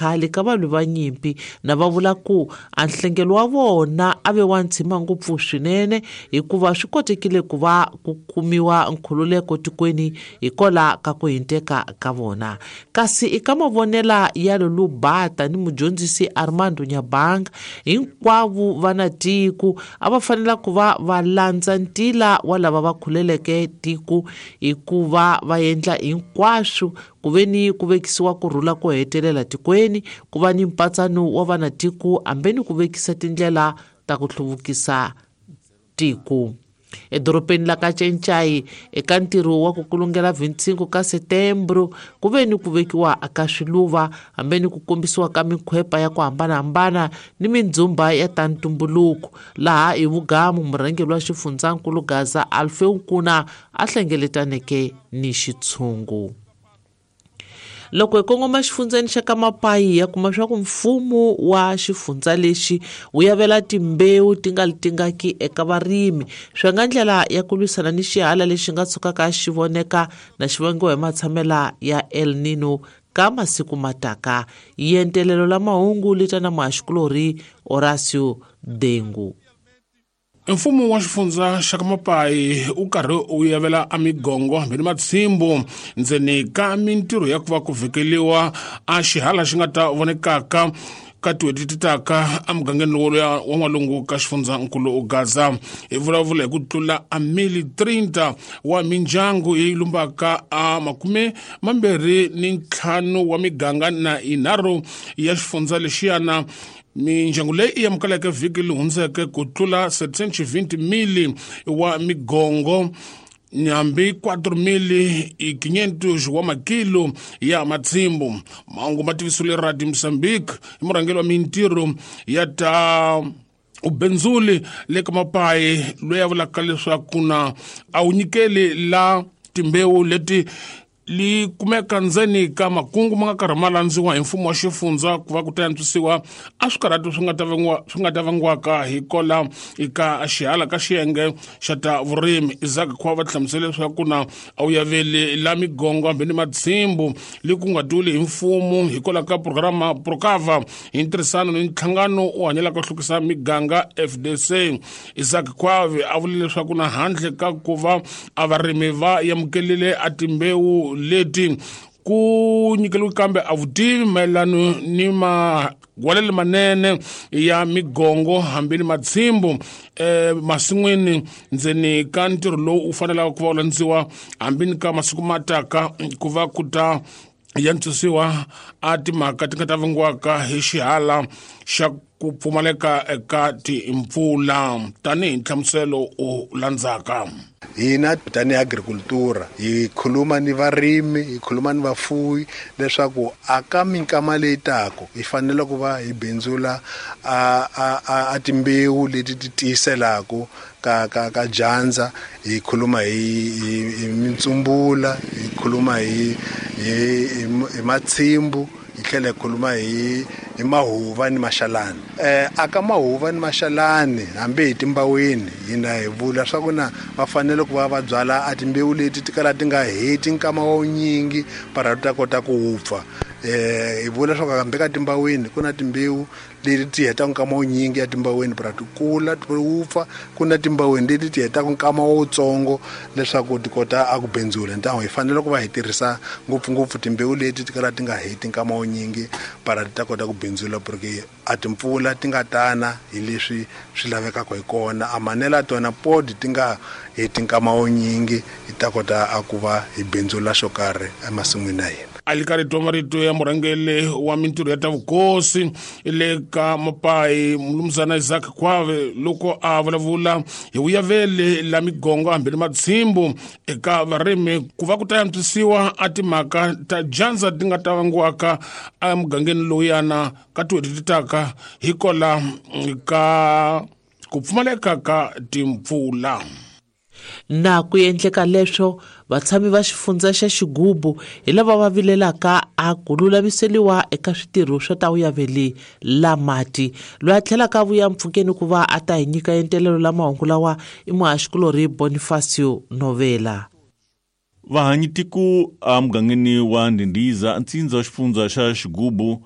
khale ka valwi va nyimpi na va vula ku a nhlengelo wa vona a ve wa ntshima ngopfu swinene hikuva swi kotekile ku va ku kumiwa nkhululeko tikweni hikwalaho ka ku hinteka ka vona. Kasi eka mavonela ya Lulu Bata ni mudyondzisi Armando Nyabanga, hinkwavo va na tiko a va fanela ku va va landza ntila wa lava va khuleleke tiko hikuva va endla hinkwaswo ku ve ni ku vekisiwa ku rhula ko hetelela tikweni, ku va ni mpatsano wa vanatiko hambi ni ku vekisa tindlela ta ku hluvukisa tiko. Edorobeni la ka Cencai eka ntirho wa ku kulungela 25 ka Setembro ku ve ni ku vekiwa ka swiluva hambi ni ku kombisiwa ka minkhwepa ya ku hambanahambana ni mindzhumba ya ta ntumbuluko laha hi vugamu murhangeri wa xifundzankulu Gaza Alfeu Nkuna a hlengeletaneke ni xitshungu. Loko hi kongoma xifundzeni xa ka Mapayi ya kuma swa ku mfumo wa xifundza lexi wu yavela timbewu ti nga tingaki eka varimi swi nga ndlela ya ku lwisana ni xihala lexi nga tshukaka xi voneka na xi vangiwa hi matshamela ya El Nino ka masiku mataka. Yentelelo la mahungu li ta na muhaxikulorhi Horacio Dengu. Mfumo wa xifundza xa ka Mapayi wu karhi wu yavela a migongo hambi ni matshimbu ndzeni ka mintirho ya ku va ku vhekeliwa a xihala xi nga ta vonekaka ka tin'hweti ti taka emugangeni lowu wa n'walungu ka xifundzankulu Gaza. Hi vulavula hi ku tlula a mili 30 wa mindyangu yi lumbaka a 25 wa miganga na yinharhu ya xifundza lexiyana. Mindyangu leyi i amukeleke vhiki leri hundzeke ku tlula 720 mili wa migongo hambi 4,500 wa makilo ya matshimbu. Mahungu ma tivisiwile Radio Mozambique hi murhangeri wa mintirho ya ta ubenzuli le ka Mapayi loyi a vulaka leswaku na a wu nyikeli la timbewu leti li kumeka ndzeni ka makungu ma nga karhi ma landziwa hi mfumo wa xifundza ku va ku ta antswisiwa a swikarhati swi nga ta vangiwa swi nga ta vangiwaka hi kola eka xihala ka xiyenge xa ta vurimi. Isaac Khwa va hlamusele leswaku na a wu yaveli la migongo hambi ni matshimbu li ku nga tiwile hi mfumo hikwalaho ka programa Procava hi ntirhisano ni nhlangano wu hanyelaka ku hlukisa miganga FDC. Isaac Khwavi a vule leswaku na handle ka ku va a varimi va amukelile a timbewu leti ku nyikeliwe kambe a vutivi mayelano ni magwalelo manene ya migongo hambi ni matshimbu masin'wini ndzeni ka ntirho lowu wu fanelaka ku va wu landziwa hambi ni ka masiku ma taka ku va ku ta yantswisiwa a timhaka ti nga ta vangiwaka hi xihala xa ku pfumaleka eka timpfula tanihi nhlamuselo u landzaka. Hina tanihi agricultura hi khuluma ni varimi, hi khuluma ni vafuwi leswaku a ka minkama leyi taka hi fanele ku va hi bindzula a timbewu leti ti tiyiselaka ka ka ka dyandza, hi khuluma hi mintsumbula, hi khuluma hi hi hi matshimbu, hi tlhela hi khuluma hi hi mahuva ni maxalani. A ka mahuva ni maxalani hambi hi timbaweni hina hi vula swa ku na va fanele ku va va byala a timbewu leti ti kala ti nga heti nkama wa wunyingi para ti ta kota ku wupfa. Hi vula swa ku hambi ka timbaweni ku na timbewu leti ti hetaka nkama wunyingi ya timbaweni para ti kula ti wupfa, ku na timbaweni leti ti hetaka nkama wutsongo leswaku ti kota a ku bindzula. Ntango hi fanele ku va hi tirhisa ngopfungopfu timbewu leti ti kala ti nga heti nkama wunyingi para ti ta kota ku bindzula, porque a timpfula ti nga tana hi leswi swi lavekaka hi kona, a manela tona pod ti nga heti nkama wunyingi hi ta kota a ku va hi bindzula xo karhi emasin'wini ya hina. A li karhi twa marito ya murhangeri wa mintirho ya ta vukosi le ka Mapayi Mnumzana Isaac Khwave loko a vulavula hi vuyaveli la migongo hambi ni matshimbu eka varimi ku va ku ta antswisiwa a timhaka ta dyandza ti nga ta vangiwaka emugangeni lowuyana ka tin'hweti ti taka hikola ka ku pfumaleka ka timpfula. Na ku endleka leswo vatshami va xifundza xa Xigubu hi lava va vilelaka a ku lulamiseliwa eka switirho swa ta vuyaveli la mati. Loyi a tlhelaka a vuya mpfhukeni ku va a ta hi nyika entelelo la mahungu lawa i muhaxikulorhi Bonifacio Novela. Vahanyi tiko emugangeni wa Ndhindiza, ntsindza wa xifundza xa Xigubu,